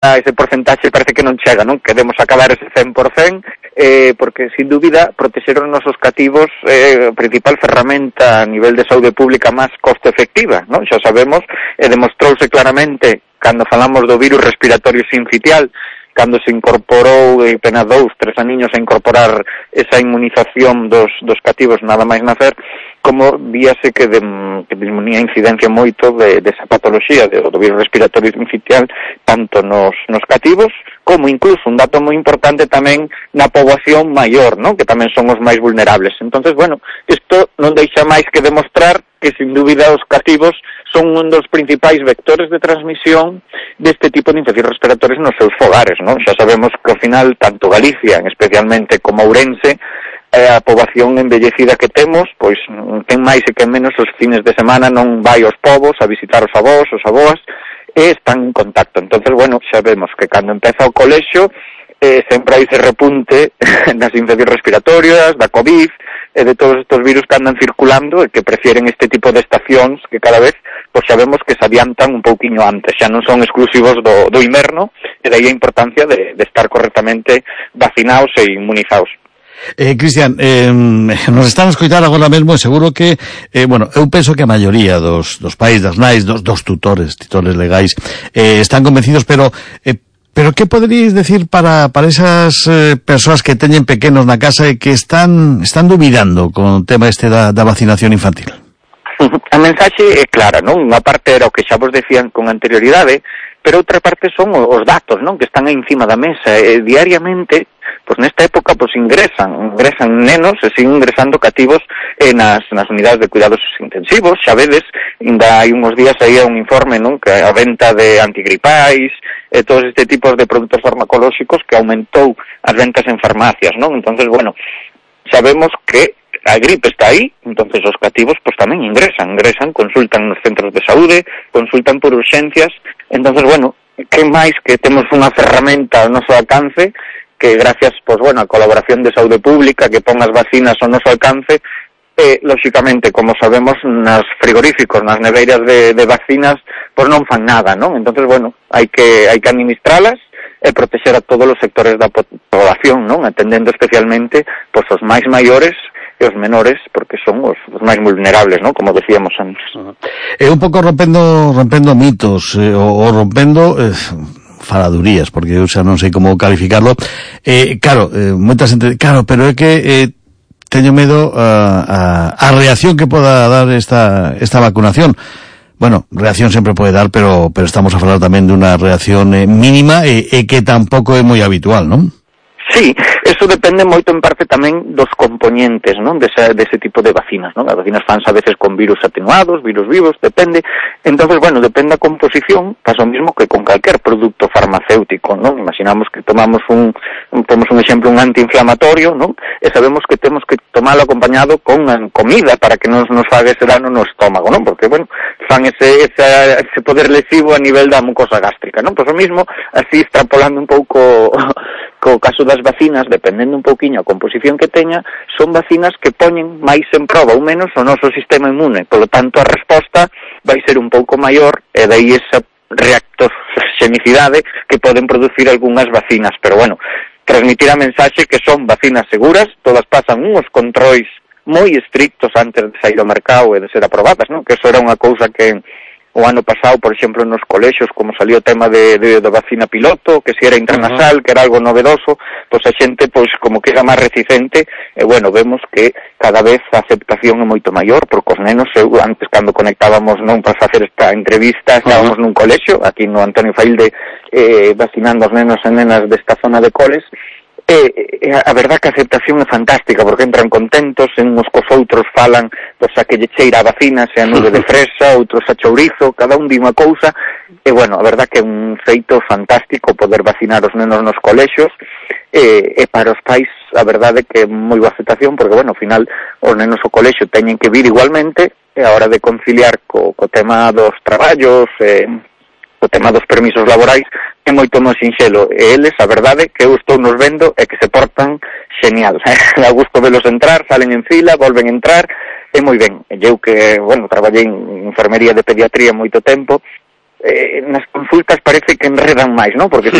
ese porcentaxe parece que non chega, non? Queremos acabar ese 100%, porque, sin dúbida, protexer os nosos cativos a principal ferramenta a nivel de saúde pública máis costo efectiva, non? Xa sabemos, demostrouse claramente, cando falamos do virus respiratorio sincitial, cando se incorporou apenas 2-3 aniños a incorporar esa inmunización dos cativos nada máis nacer, como víase que disminuía a incidencia moito desa patoloxía do virus respiratorio sincitial tanto nos cativos como incluso un dato moi importante tamén na poboación maior, non? Que tamén son os máis vulnerables. Entonces, bueno, isto non deixa máis que demostrar que, sin dúbida, os cativos son un dos principais vectores de transmisión deste tipo de infeccións respiratorias nos seus fogares, non? Xa sabemos que, ao final, tanto Galicia, especialmente, como Ourense, a poboación envellecida que temos, pois, quen máis e quen menos, os fines de semana non vai aos povos a visitar os avós, os aboas, e están en contacto. Entonces, bueno, xa vemos que cando empeza o colexio, sempre hai ese repunte das infeccións respiratorias, da COVID, e de todos estes virus que andan circulando e que prefieren este tipo de estacións que cada vez, pois sabemos que se adiantan un pouquiño antes, xa non son exclusivos do inverno, e dai a importancia de estar correctamente vacinados e inmunizados. Cristian, nos están a escoitar agora mesmo e seguro que, bueno, eu penso que a maioría dos pais, das nais, dos titores legais, están convencidos, pero que poderíais decir para esas persoas que teñen pequenos na casa e que están dubidando con o tema da vacinación infantil? A mensaxe é clara, non? Unha parte era o que xa vos decían con anterioridade, pero outra parte son os datos, non? Que están aí encima da mesa e diariamente, pois nesta época, pois ingresan nenos e siguen ingresando cativos nas unidades de cuidados intensivos. Xa vedes, ainda hai uns días aí un informe, non? Que a venta de antigripais e todos este tipos de produtos farmacolóxicos que aumentou as ventas en farmacias, non? Entonces, bueno, sabemos que a gripe está aí, entonces os cativos pois tamén ingresan, consultan nos centros de saúde, consultan por urxencias. Entonces, bueno, que máis que temos unha ferramenta ao noso alcance que gracias, pois, bueno, a colaboración de saúde pública que pon as vacinas ao noso alcance, lóxicamente, como sabemos, nas frigoríficos, nas neveiras de vacinas, pois non fan nada, non? Entonces, bueno, hai que administralas e protexer a todos os sectores da población, non? Atendendo especialmente pois os máis maiores e os menores, porque son os máis vulnerables, non? Como decíamos antes. Un pouco rompendo mitos, ou rompendo faladurías, porque eu xa non sei como calificarlo. Moita xente, pero é que teño medo a reacción que poda dar esta vacunación. Bueno, reacción sempre pode dar, pero estamos a falar tamén dunha reacción mínima e que tampouco é moi habitual, non? Sí, eso depende moito en parte tamén dos componentes, non? Dese tipo de vacinas, non? As vacinas fanse a veces con virus atenuados, virus vivos, depende. Entonces, bueno, depende da composición, pasa o mismo que con calquer produto farmacéutico, non? Imaginamos que tomamos temos un exemplo, un antiinflamatorio, non? E sabemos que temos que tomalo acompañado con comida para que non nos faga ese dano no estómago, non? Porque, bueno, fan ese poder lesivo a nivel da mucosa gástrica, non? Pois o mismo, así extrapolando un pouco co caso das vacinas, dependendo un pouquiño a composición que teña, son vacinas que poñen máis en proba ou menos o noso sistema inmune. Por lo tanto, a resposta vai ser un pouco maior e dai esa reactoxenicidade que poden producir algunhas vacinas. Pero, bueno, transmitir a mensaxe que son vacinas seguras, todas pasan uns controis moi estrictos antes de sair ao mercado e de ser aprobadas, non? Que eso era unha cousa que o ano pasado, por exemplo, nos colexios, como salió o tema de vacina piloto, que si era intranasal, que era algo novedoso, pois a xente, pois, como que era máis reticente, e, bueno, vemos que cada vez a aceptación é moito maior, porque os nenos, antes, cando conectábamos, non, para facer esta entrevista, estábamos nun colexio, aquí no Antonio Failde, vacinando os nenos e nenas desta zona de coles, a verdad que a aceptación é fantástica, porque entran contentos, uns cos outros falan, pois a que lle cheira a vacina, sea nube de fresa, outros a chourizo, cada un di unha cousa, e, bueno, a verdad que é un feito fantástico poder vacinar os nenos nos colexios, e para os pais, a verdade que é moi boa aceptación, porque, bueno, ao final, os nenos ao colexio teñen que vir igualmente, e a hora de conciliar co tema dos traballos, o tema dos permisos laborais, é moito máis sinxelo. E eles, a verdade, que eu estou nos vendo é que se portan genial. A gusto velos entrar, salen en fila, volven a entrar, é moi ben. E eu que, bueno, traballei en enfermería de pediatría moito tempo, nas consultas parece que enredan máis, non? Porque se